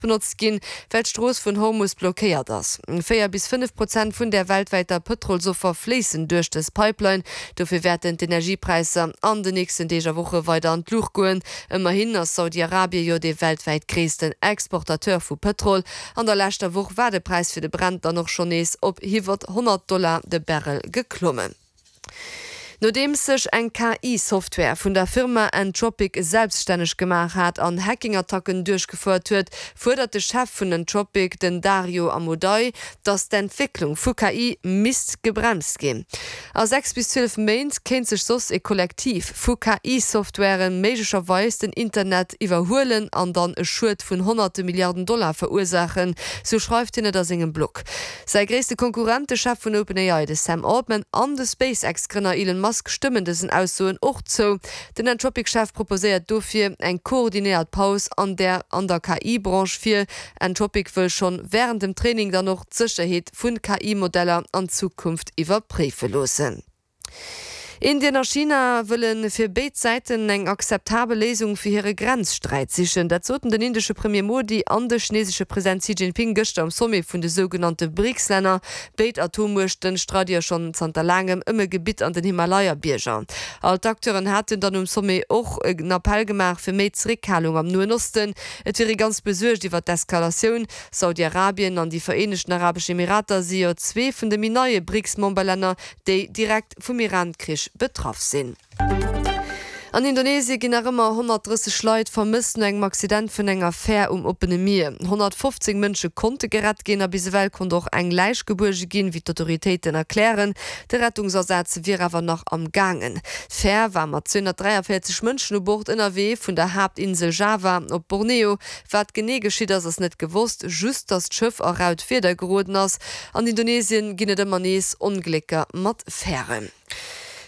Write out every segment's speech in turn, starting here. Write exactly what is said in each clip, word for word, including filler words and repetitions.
Benotzt ginn, well d'Strooss vun Hormus blockéiert ass. Véier bis fënnef Prozent vun der weltwäiter Pëtrolsoffer fléissen duerch dës Pipeline. Dofir wäerten d'Energiepräisser an den nächsten Deeg a Woche weider an d'Luucht goen. Ëmmerhin ass Saudi-Arabie jo dee weltwäit gréissten Exportateur vu Pëtrol. An der leschter Woch war de Präis fir de Brent dann och schonn nees op iwwer honnert Dollar de Barrel geklommen. Nodeems sech eng K I-Software vun der Firma Anthropic selbststänneg gemaach hat an Hacking-Attacken duerchgefouert huet, fuerdert de Chef vun Anthropic, den Dario Amodei, datt d'Entwécklung vu K I misst gebremst ginn. A sechs bis zwielef Méint kéint sech soss e Kollektiv vu K I-Software méiglecherweis den Internet iwwerhuelen an dann e Schued vun honnerte Milliarden Dollar verursaachen, sou schreift hien et a sengem Blog. Säi gréisste Konkurrent, de Chef vun OpenAI, de Sam Altman, an de SpaceX-Grënner Elon Musk stëmmen dësen Aussoen och zou. Den Anthropic-Chef proposéiert dofir eng koordinéiert Paus an der an der K I-Branche vir. Anthropic wëll schonn wärend dem Training dann och d'Sécherheet vu K I-Modeller an Zukunft iwwerpréife loossen. Indien a China wëlle fir béid Säiten eng akzeptabel Léisung fir hire Grenzsträit sichen. Dat soten den indesche Premier Modi an de chinesesche President Xi Jinping gëschter am Sommet vun de sougenannte BRICS-Länner. Béid Atommuechte streide jo schonn zanter laangem ëm e Gebitt an den Himalaya-Bierger. All d'Acteuren haten dann um Sommet och en Appell gemaach fir méi Zeréckhalung am Noen Osten. Et wier ee ganz besuergt iwwer d'Eskalatioun. Saudi-Arabien an déi Vereenegten Arabesch Emirater si jo zwee vun de méi neie BRICS-Memberlänner, déi direkt vum Iran-Krich betraff sinn. An Indonesie ginn nach ëmmer honnertdrësseg Leit vermësst no engem Accident vun enger Fär um oppene Mier. Honnertfofzéng Mënsche konnte gerett ginn a bis ewell konnt och eng Läich gebuerge ginn, wéi d'Autoritéiten erklären. De Rettungsasaz wier awer nach am gaangen. D'Fär war mat zweehonnertdräiavéierzeg Mënschen u Bord ënnerwee vun der Haaptinsel Java op Borneo. Wat genee geschitt ass, ass net gewosst, just datt d'Schëff a raut Wieder geroden ass. An Indonesien ginn et ëmmer nees Onglécker mat Fären.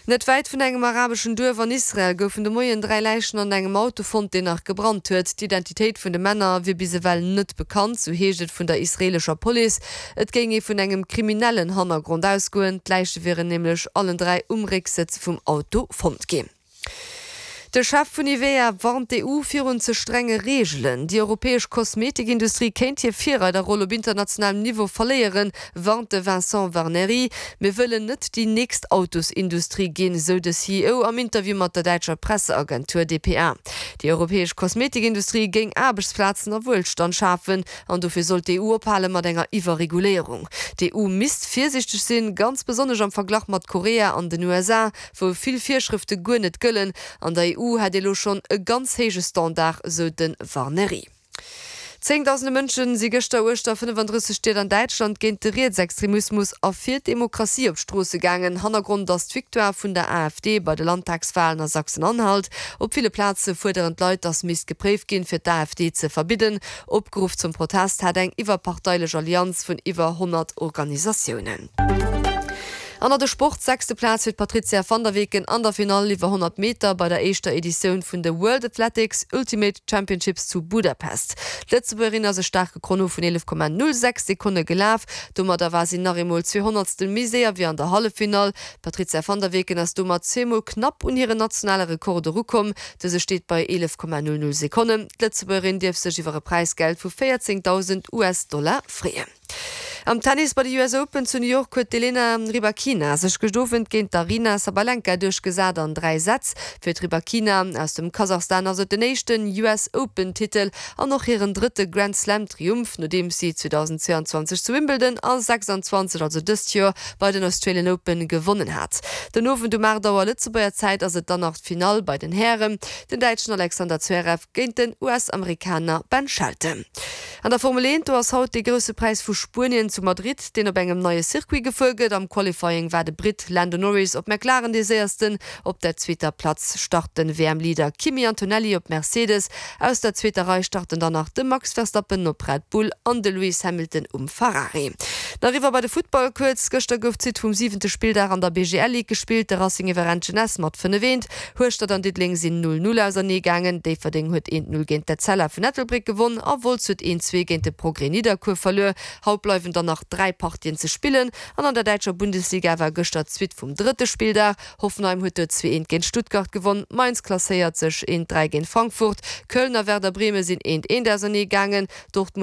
Net wäit vun engem arabeschen Duerf an Israel goufen de Moien dräi Läichen an engem Auto fonnt, deen nach gebrannt huet. D'Identitéit vun de Männer wier bis ewell net bekannt, sou heescht et vun der israeelescher Police. Et géing ee vun engem kriminellen Hannergrond ausgoen. D'Läiche wieren nämlech allen dräi um Récksëtz vum Auto fonnt ginn. De Chef vun Nivea warnt d'E U virun ze strenge Reegelen. Déi europäesch Kosmetikindustrie kéint hir Virreiderroll op internationalem Niveau verléieren, warnt de Vincent Warnery. Mir wëllen net déi nächst Autosindustrie ginn, sou de C E O am Interview mat der däitscher Presseagentur D P A. Déi europäesch Kosmetikindustrie géing Aarbechtsplazen a Wuelstand schafen an dofir sollt d'E U ophale mat enger Iwwerreguléierung. D'E U misst virsiichteg sinn, ganz besonnesch am Verglach mat Korea an den U S A, wou vill Virschrëfte guer net gëllen. An der E U hätt ee lo schonn e ganz héije Standard, sou de Warnery. Zéngdausende Mënsche si gëschter uechter fënnefandrësseg Stied an Däitschland géint de Rietsextremismus a fir d'Demokratie op d'Stroosse gaangen. Hannergrond ass d'Victoire vun der A F D bei de Landtagswalen a Sachsen-Anhalt. Op ville Plaze fuerderen d'Leit, datt misst gepréift ginn, fir d'A F D ze verbidden. Opgeruff zum Protest hat eng iwwerparteilech Allianz vun iwwer honnert Organisatiounen. An der Sport sechste Plaz fir d'Patrizia van der Weken an der Finall iwwer honnert Meter bei der éischter Editioun vun de World Athletics Ultimate Championships zu Budapest. D'Lëtzebuergerin ass e staarke Chrono vun eelef Komma null sechs Sekonne gelaf. Domadder war si nach eemol zwee Honnertstel méi séier wéi an der Halleffinall. D'Patrizia van der Weken ass domat zweemol knapp un hiren nationale Rekord erukomm. Dëse steet bei eelef Komma null null Sekonnen. D'Lëtzebuergerin dierf sech iwwer e Präisgeld vu véierzéngdausend U S Dollar freeën. Am Tennis bei de U S Open zu New York huet d'Elena Rybakina sech gëscht Owend géint d'Aryna Sabalenka duerchgesat an dräi Sätz. Fir d'Rybakina aus dem Kasachstan ass et den éischten U S Open-Titel an och hiren drëtte Grand Slam-Triumph, nodeem si zweetausendzweiandzwanzeg zu Wimbledon a sechsandzwanzeg, also dëst Joer, bei den Australian Open gewonnen hat. Den Owend um aacht Auer Lëtzebuerger Zäit ass et dann nach d'Finall bei den Hären, den däitschen Alexander Zverev géint den U S-Amerikaner Ben Shelton. An der Formel eent, do ass haut de grousse Präis vu Spuenien zu Madrid, deen op engem neie Circuit gefuer gëtt. Am Qualifying war de Brit Lando Norris op McLaren dee séiersten. Op der zweeter Platz start den W M-Leader Kimi Antonelli op Mercedes. Aus der zweeter Rei starten dann nach de Max Verstappen op Red Bull an de Lewis Hamilton um Ferrari. Nach iwwer bei de Futtball kuerz. Gëschter gouf d'Suite vum siwente Spilldag an der B G L Ligue gespillt. De Racing iwwer Jeunesse mat fënnef eent. Hueschtert an Diddeleng sinn null null auserneegaangen. Déifferdeng huet eent null géint d'Etzella vun Ettelbréck gewonnen a Wolz huet eent zwee zwee géint de Progrès Nidderkuer verluer. Haut bleiwen dann nach dräi Partien ze spillen an an der däitscher Bundesliga war gëschter d'Suite vum drëtte Spilldag. Hoffenheim huet do zwee eent géint Stuttgart gewonn, Mainz klasséiert sech eent dräi géint Frankfurt, Köln a Werder Bremen sinn eent eent ausernee gaangen, Dortmund